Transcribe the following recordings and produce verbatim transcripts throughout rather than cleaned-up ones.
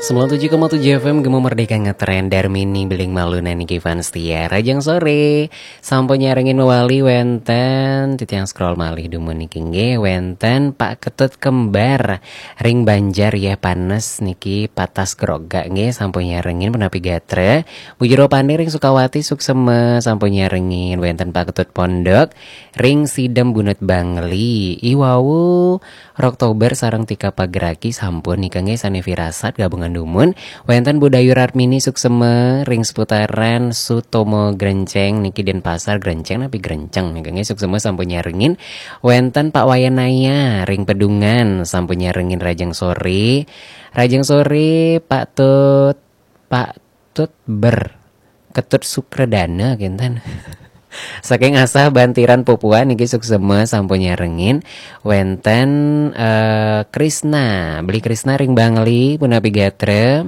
Sembilan tujuh koma tujuh F M Gema Merdeka ngetren. Darmini Beling Maluna niki fans setia. Rajang sore. Sampun nyarengin mewali wenten titiang scroll malih dumun niki nggih, wenten Pak Ketut Kembar ring Banjar ya panes niki patas groga nggih, sampun nyarengin punapi gatra. Bu Jero Pande ring Sukawati suksema sampun nyarengin, wenten Pak Ketut Pondok ring Sidem Bunut Bangli. Iwawu Roktober sareng Tika Pagraki sampun nika nggih sane firasat gabungan dumun. Wenten Bu Dayu Ratmini suksema ring seputaran Sutomo Grenceng niki Denpasar Grenceng napi Grenceng nika nggih suksema sampun nyarengin. Wenten Pak Wayanaya ring Pedungan sampun nyarengin rajang sore. Rajang sore Pak Tut, Pak Tut Ber. Ketut Sukredana kinten. Saking Asah Bantiran Papua niki suksema sampun nyarengin. Wenten eh, Krisna, Beli Krisna ring Bangli punapi gatra.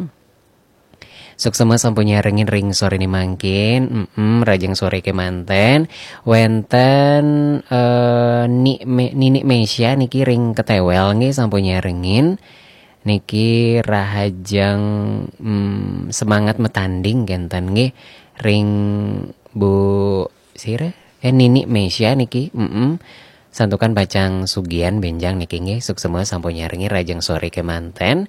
Suksema sampun nyarengin ring sore ni mangkin. Mm-mm, rajang sore kemanten. Wenten eh, Ni Me, Nini Mesia niki ring Ketewel nggih sampun nyarengin. Niki rahajeng mm, semangat metanding kenten nggih ring Bu sira eh Nini Mesia niki. Mm-mm. Santukan pacang sugian benjang niki nggih, suksema sampun nyarengi rajeng sore kemanten.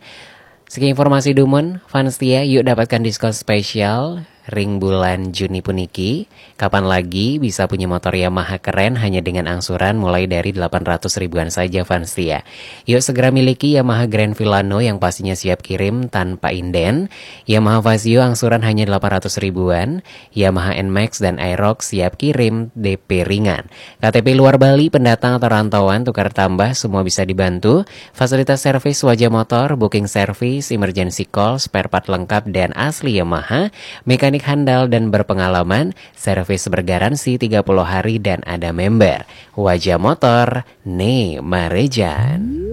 Siki informasi dumun, fans setia, yuk dapatkan diskon spesial ring bulan Juni puniki. Kapan lagi bisa punya motor Yamaha keren hanya dengan angsuran mulai dari delapan ratus ribuan saja, fans setia. Yuk segera miliki Yamaha Grand Filano yang pastinya siap kirim tanpa inden, Yamaha Fazzio angsuran hanya delapan ratus ribuan, Yamaha Nmax dan Aerox siap kirim D P ringan. K T P luar Bali, pendatang atau rantauan, tukar tambah, semua bisa dibantu. Fasilitas servis wajah motor, booking service, emergency call, spare part lengkap dan asli Yamaha, mekanik handal dan berpengalaman, servis bergaransi tiga puluh hari dan ada member. Wajah motor, ne marejan.